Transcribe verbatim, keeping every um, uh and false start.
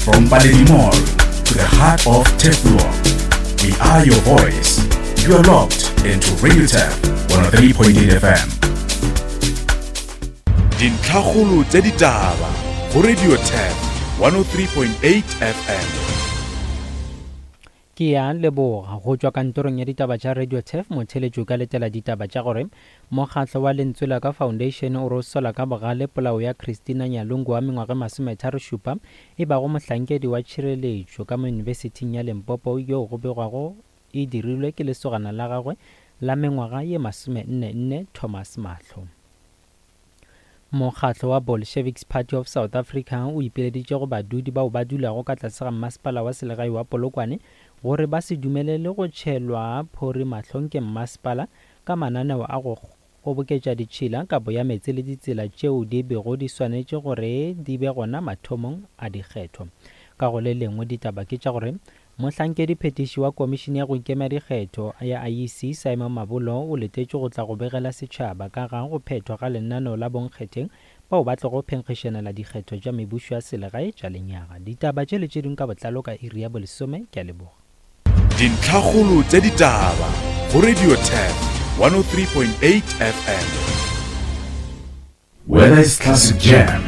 From Paledi Mall to the heart of Turfloop, we are your voice. You are locked into Radio Turf one oh three point eight F M. Dintlhakgolo tsa ditaba go Radio Turf one oh three point eight F M. Ke ya leboga go tšwa kantorong ya ditaba tša Radio Turf motheletšo ka letela ditaba tša gore mokgatlo wa Lentswe la Ka Foundation o re sola ka bogale polao ya Christina Nyalungu wa mengwaga masometharo šupa e bago mohlankedi wa tšhireletšo ka mo Yunibesithing ya Limpopo yo go begwago e dirilwe ke lesogana la gagwe la mengwaga ye masomenne nne Thomas Mahlo. Mokgatlo wa Bolsheviks Party of South Africa o ipileditše go badudi bao ba dulago ka tlase ga mmasepala wa selegae wa Polokwane gore ba se dumelele go tšhelwa phori mahlong ke mmasepala ka mananeo a go kgoboketša ditšhila, kabo ya meetse le ditsela tšeo di bego di swanetše gore di be gona mathomong a dikgetho. Ka go le lengwe ditaba ke tša gore mohlankedi phetiši wa komišene ya go ikema dikgetho ya I E C Simon Mabolo o letetše go tla go begela setšhaba ka ga go phethwa ga lenaneo la bonkgetheng bao ba tlogo phenkgišanela dikgetho tša mebušo ya selegae tša lenyaga. Ditaba tše le tše dingwe ka botlalo ka iri ya bolesome. Ke a leboga. Dintlhakgolo tša ditaba go Radio Turf one oh three point eight F M. Whether it's classic jam